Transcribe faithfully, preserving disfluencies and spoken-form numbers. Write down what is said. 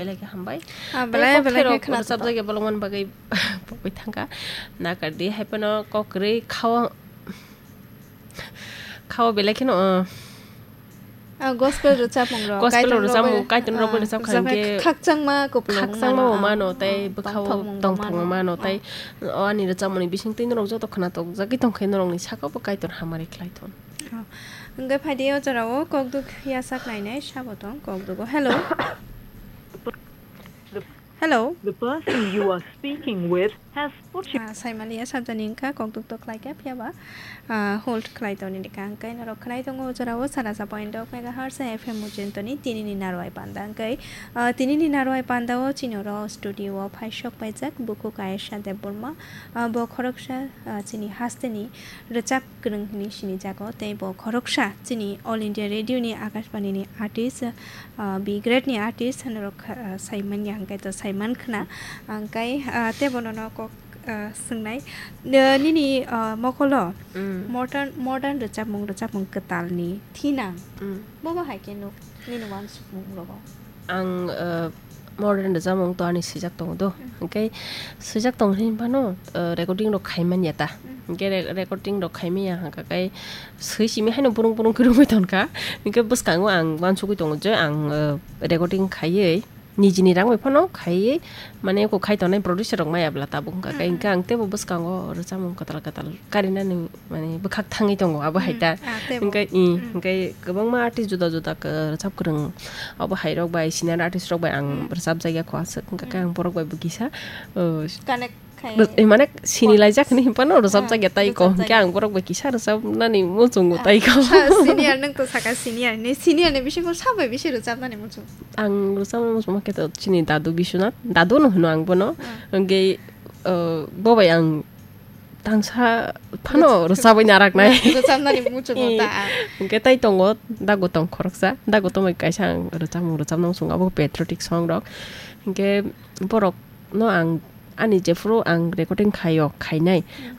Belai khe hambai. Ah, Tei belai, kok belai khe thairok khna rwchapjak ya bolongmani bagwi pogwi thangkha. Nakardi hai phano kok kwrwi khao, khao belai kheno, uh, Ah, gospel rwchapmung rok, gospel Kaitor rok rwchapmung, bai, Kaitor rok bai ah, rwchap kha rwchap khai hwnkhe khakchangma kupulung khakchangma mano, bo mano, ah, tei ah, bwkhao tongthokmung tongthokmung mano, mano, ah. Tei o ani rwchapmungni bisingtwi norok joto khna tokjagwi tongkhe norokni sakao bo Kaitor hamari khlai thung. Oh. Hwnkhe phaidi o jorao kokduk yasak nainai sabo tong kokdugo. Hello. The Hello. The person you are speaking with has put you Ah, saimaliya sabjani wngkha kokduk to khlaikha phiyaba, ah, hold khlai toni dikha hwnkhe norok khlai tongo o jorao sarasa point dok megahertz F M mujintoni tinini narwai panda hwnkhe, ah, tinini narwai pandao chini oro studio o phaisok paijak bukhuk Ayesha Debbarma, ah, bo khoroksa, ah, chini hasteni rwchap kwrwng hwnwi sinijago, tei bo khoroksa chini All India Radio ni Akashbani ni artist, ah, B grade ni artist norok kha-, ah, saimanya hwnkhe to saiman khna, hwnkhe, ah, tei bono no kok, ah, swngnai, ah, nini, ah, mokolo Mm. modern, modern rwchapmung, rwchapmung kwtalni thinang Mm. bobo hai khe nuk nini uansukmung rogo? Ang, uh, modern rwchapmung to ani swijak tongo do. Mm. Hwnkhe swijak tong hinwi phano, uh, recording rok khai manya ta. Mm. Hwnkhe re-, recording rok khai manya hwnkha khe swi simi haino burung burung khe rwngwi tongkha. Hwnkhe bwskango ang uansugwi tongo je ang, uh, recording khaiwi nijini rang bai phano khaiwi mane eko khai tongnai producer rok maya bwla tabuk hwnkha khe Mm, mm. hwnkhe ang teibo bwskango rwchapmung kwtal kwtal karinani mane bwkhak thangwi tongo abo hai Mm, ta. Ah, teibo. Hwnkhe, i, Mm. hwnkhe kwbangma artist juda juda kwrwchap kwrwng abo hai rok bai senior artist rok bai ang Mm. rwchapjak ya kho aswk hwnkha khe Mm. ang borok bai bo kisa, uh, Connect khai. Rw-, eh, mane sini Kon-, laijak hinwi hinphano rwchapjak ya ah, tai kho rwchapjak hwnkhe ya. Ang borok bai kisa rwchapnani muchungo Ah, tai kho. Sa-, senior nwng to saka senior ni, senior ni bisingo sa bai bisi rwchapnani muchung? Ang rwchapna muchungma khe to chini dadu Biswanath, dadu no hwno ang bono. Ah. Hwnkhe, uh, bo bai ang tangsa phano rwchapwi naraknai. Rwchapnani muchungo ta. Hwnkhe tai tongo, dago tong khoroksa, dago tongwi kaisa ang rwchapmung rwchapna muchungo, abo patriotic song rok. Hwnkhe borok no ang ani jephuru ang recording khaio, khainai, Hmm.